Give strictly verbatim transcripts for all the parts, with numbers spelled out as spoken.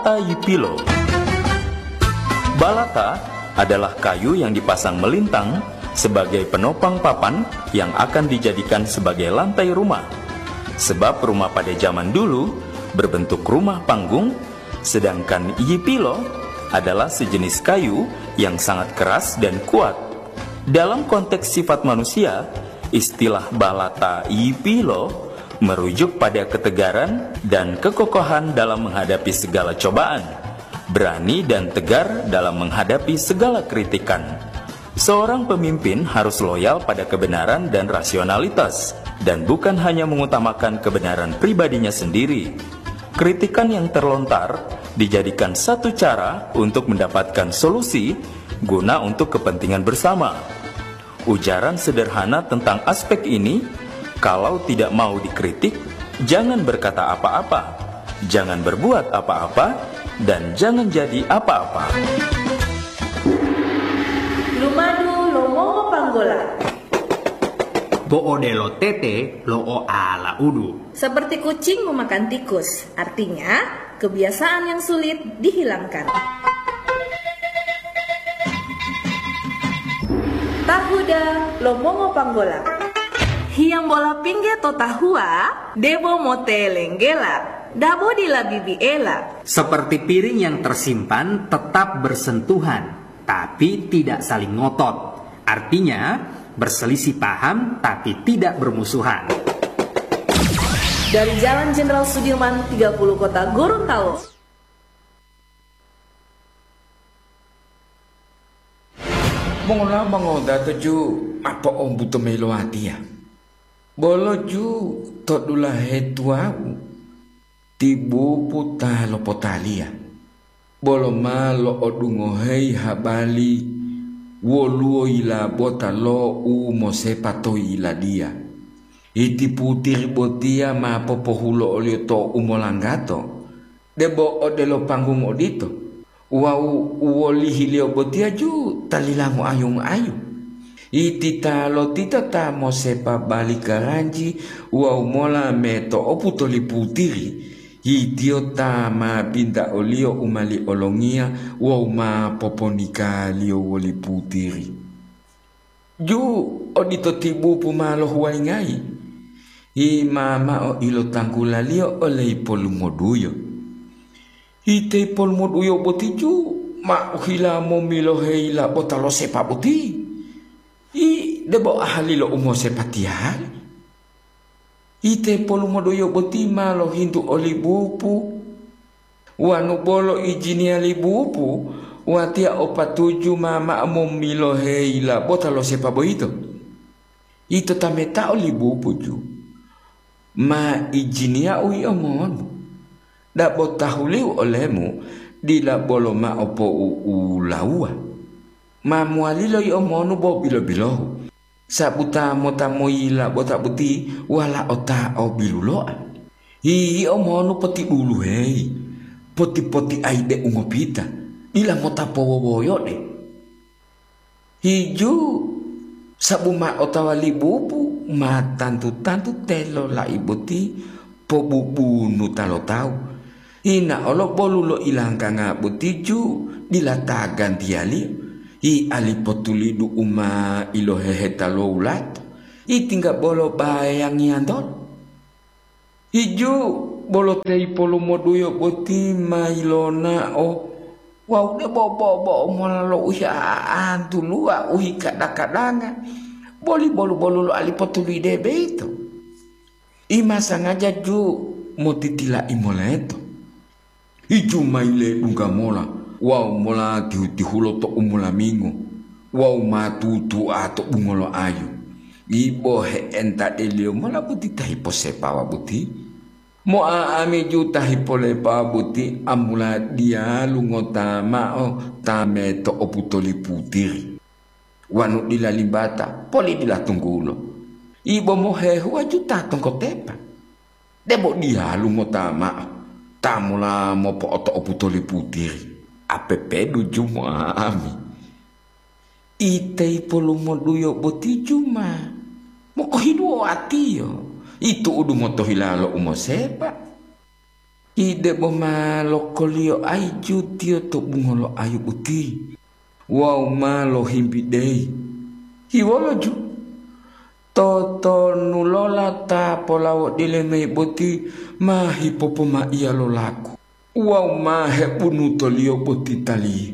Balata yipilo. Balata adalah kayu yang dipasang melintang sebagai penopang papan yang akan dijadikan sebagai lantai rumah. Sebab rumah pada zaman dulu berbentuk rumah panggung, sedangkan yipilo adalah sejenis kayu yang sangat keras dan kuat. Dalam konteks sifat manusia, istilah balata yipilo merujuk pada ketegaran dan kekokohan dalam menghadapi segala cobaan, berani dan tegar dalam menghadapi segala kritikan. Seorang pemimpin harus loyal pada kebenaran dan rasionalitas, dan bukan hanya mengutamakan kebenaran pribadinya sendiri. Kritikan yang terlontar dijadikan satu cara untuk mendapatkan solusi guna untuk kepentingan bersama. Ujaran sederhana tentang aspek ini, kalau tidak mau dikritik, jangan berkata apa-apa, jangan berbuat apa-apa, dan jangan jadi apa-apa. Lumadu lo mongo panggola. Bo odelo tete lo oala udu. Seperti kucing memakan tikus, artinya kebiasaan yang sulit dihilangkan. Tahuda lo mongo panggola. Hiyambola pingge to tahua, debo motelenggela, dabo dila bibiela. Seperti piring yang tersimpan tetap bersentuhan, tapi tidak saling ngotot. Artinya, berselisih paham tapi tidak bermusuhan. Dari Jalan Jenderal Sudirman tiga puluh Kota Gorontalo. Mongola mongodato ju ma po'ombuto mayi lo watiya. Bolo ju to dulahe tuwawu, ti bupu ta lopotaliya. Bolo ma lo'odungoheyi habari woluwo yilabota lo u mosepa to yiladiya. Iti putiri botiya ma popohulo oliyo to umolanggato, debo odelo panggung odito, wawu u wolihiliyo botiya ju ta lilangoayu-ngoayu. Iti ta lotita ta mosepa bali karanji wawu mola meto'opu toli putiri, itiyo ta ma binta oliyo u mali olongiya wawu ma poponikaliyo woli putiri. Ju odito ti bupu ma lohuwalingayi, yi ma mao ilotanggulaliyo ole ipolumoduyo. Ite ipolumoduyo boti ju ma ohila momilohe yilabota lo sepa boti. Yi debo ahali lo umosepatiyali. Ite polumoduyo boti ma lohintu oli bupu, wanu bolo ijiniya li bupu, watiya o patuju ma mao momilohe yilabota lo sepa boyito. Ito tametao li bupu ju, ma ijiniyau yio monu. Dabo tahuliu olemu dila bolo mao po'u'ulawuwa. Ma mowalilo yio monu bo bilo-bilohu. Sabuta mota moyila bota boti walao ta o biluloa. Yio monu potiduluheyi, poti-potiayi de u ngopita, dila mota powowoyode. Hiju, sabu ma otawa li bupu ma tantu-tantu telo lai boti pobubunu ta lo tawu. Hina olo bolu lo ilangkanga boti ju dila ta gantiyaliyo. Hi ali potulidu u ma iloheheta lo wulato, hi tingga bolo bayangiyantolo. Hiju, bolo te ipolumoduyo boti ma yilonao wawu debo bo'o-bo'o mola lo uhia'antu luwa u hikada-kadanga, boli bolu-bolu lo ali potulide boyito. Ima sangaja ju motitila'i moleto. Hiju ma yiledungga mola wawu mola tihu-tihulo to umolamingo wawu ma tutu'a to bungolo ayu. Ibo he'entadeliyo mola boti ta hiposepawa boti. Mo'a'amiju ta hipolepawa boti amula diyalu ngota mao ta meto'opu toli putiri. Wanu dila limbata, poli dila tunggulo. Ibo mohehuwa ju ta tongkotepa. Debo diyalu ngota mao ta mula mopo'oto'opu toli putiri, apepedu ju mo'a'ami. Ite ipolumoduyo boti ju ma mokohiduwo atiyo, itu'udu motohila lo umosepa. Ide bo ma lokoliyo aiju tiyo to bungolo ayu boti wawu ma lohimbideyi. Hiwolo ju, totonulola ta polawodile mayi boti ma hipopomaiya lo laku wawu ma hebunutoliyo boti taliyi,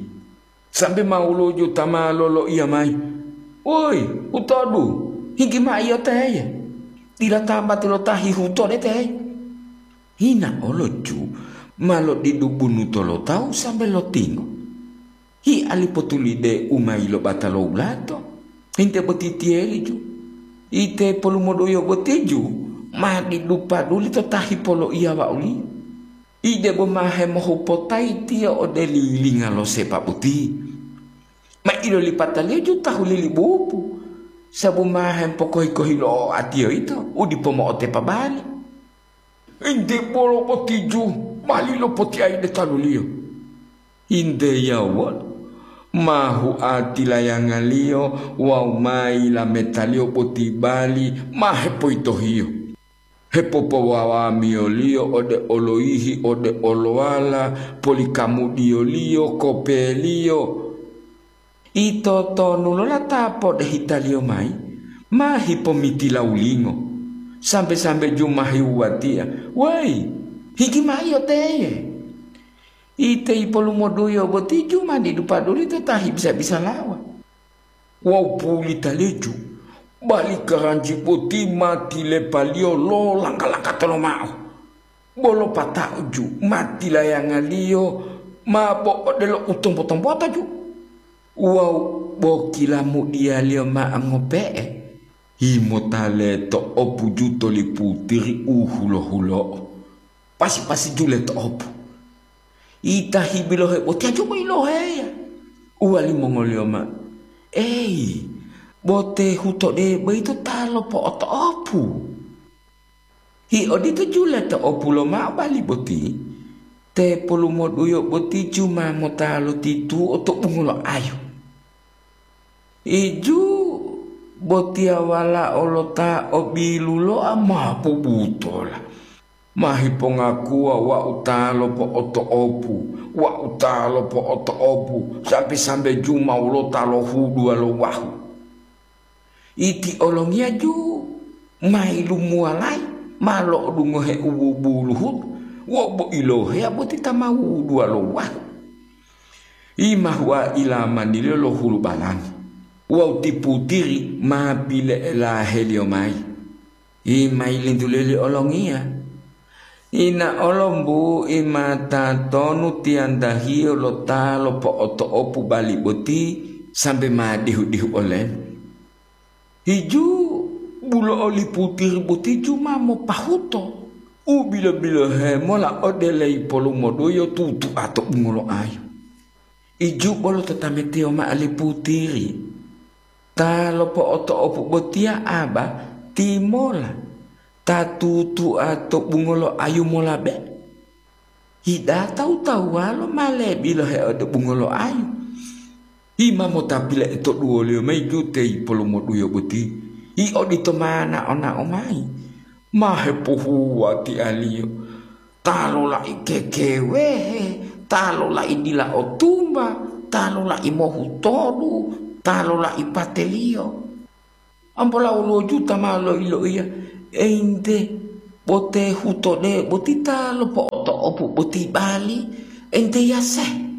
sambe ma woluwo ju ta ma loloiya mayi, "Woyi, hutodu, higi maiyo teye! Dila tambati lo ta hihuto de teye!" Hina olo ju ma lodidu bunuto lo tawu sambe lotingo. Hi alipotulide u ma yilobata lo wulato, hinte boti tiyeli ju. Ite polumoduyo boti ju ma didu paduli to ta hipoloiya wauliyo. Ide bo ma hemohupotayi tiyo ode lilinga lo sepa boti. Ma ilolipataliyo ju tahu lilibupu, sabu ma hempokohi-kohiloa tiyo yito u dipo mo'otepa bali. Ente bolo boti ju bali lopotiayi de taluliyo. Hinte yawuwolo, ma hua tilayangaliyo wawu ma yilametaliyo boti bali ma hepoyitohiyo. Hepopowawamiyoliyo ode oloyihi, ode olowala, polikamudiyoliyo, kopeliyo. Ito tonu lola ta podehitaliyo mayi, ma hipomitilawulingo, sambe-sambe ju ma hiwuwatia, "Woyi, higi maiyo teye!" Ite ipolumoduyo boti ju ma didu paduli to ta hibisa-bisalawa. Wawu pulita leju, bali karanji boti ma tilepaliyo lo langka-langka tolomao. Bolo pata'u ju ma tilayangaliyo ma bo odelo u tombo-tombota ju. Wawu bo kilamudiyaliyo ma ngope'e, himota leto'opu ju toli putiri u hulo-hulo'o, pasi-pasi ju leto'opu. Ita hibilohe botiya ju ma yiloheya. Uwali mongoliyo ma, "Eyi, bo te hutode boyito ta lopo'oto'opu." Hi odito ju leto'opu lomao bali boti, te polumoduyo boti ju ma mota lotituo to bungolo ayu. Iju botiya walao lo ta o biluloa ma pobutola, ma hipongakuwa wau ta lopo'oto'opu, wau ta lopo'oto'opu, sambe-sambe ju ma wolo ta lohuduwa lo wahu. Iti olongiya ju ma yilumuwalayi, ma lo'odungohe u bubuluhutu, wo bo iloheya boti ta ma wuduwa lo wahu. Yima hua ilamaniliyo lo hulu balani, wawu ti putiri ma pile'elaheliyo mayi. Yima yilintuliyo li olongiya. Ina olombu ima tatonu tiyantahiyo lo ta lopo'oto'opu bali boti sambe ma dihu-dihu olemu. Hiju bulo'o li putiri boti ju ma mopahuto u bilo-bilohe mola ode leyi polumoduyo tutu'a to bungolo ayu. Iju bolo to tametiyo mao li putiri, ta lopo'oto'opu botiya aba timola ta tutu'a to bungolo ayu molabe. Hida tawu-tawuwalo ma lebilohe ode bungolo ayu. Hima mota pile'etoduwoliyo mayi ju te yipolomoduyo boti, yi odito ma nao-nao mayi, ma hepohuwatialiyo, ta lolai kekewehe, ta lolai dila otumba, ta lolai mohutodu, ta lolai pateliyo. Ampola woluwo juta ma loiloiya, "Einte, bo te hutode boti ta lopo'oto'opu boti bali, einte yase."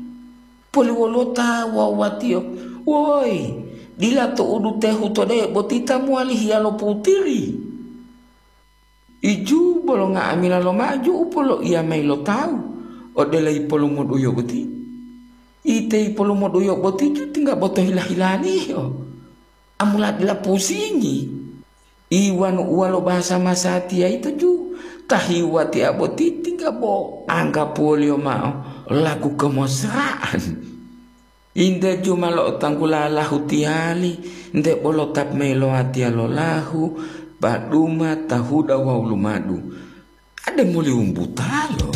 Poli woluwo ta wuwa-wuwatiyo, "Woyi, dila to'udu te hutode boti ta mowali hiyalo putiri." Iju bolo nga'amila lomaju u poloiya mayi lo tawu, odelo yipolomoduyo boti. Ite yipolomoduyo boti ju tingga bo to hila-hilaliyo. Amula dila pusingi. Iwanu uwa lo bahasa masatiya yito ju, ta hiwatiya boti tingga bo anggapuwoliyo mao laku kemosra'an. Inde ju ma lo'otanggula lahu tiyali, nte bolo ta meyilowatiya lo lahu, paduma, tahuda wawu lumadu. Ade moli wumbutalo.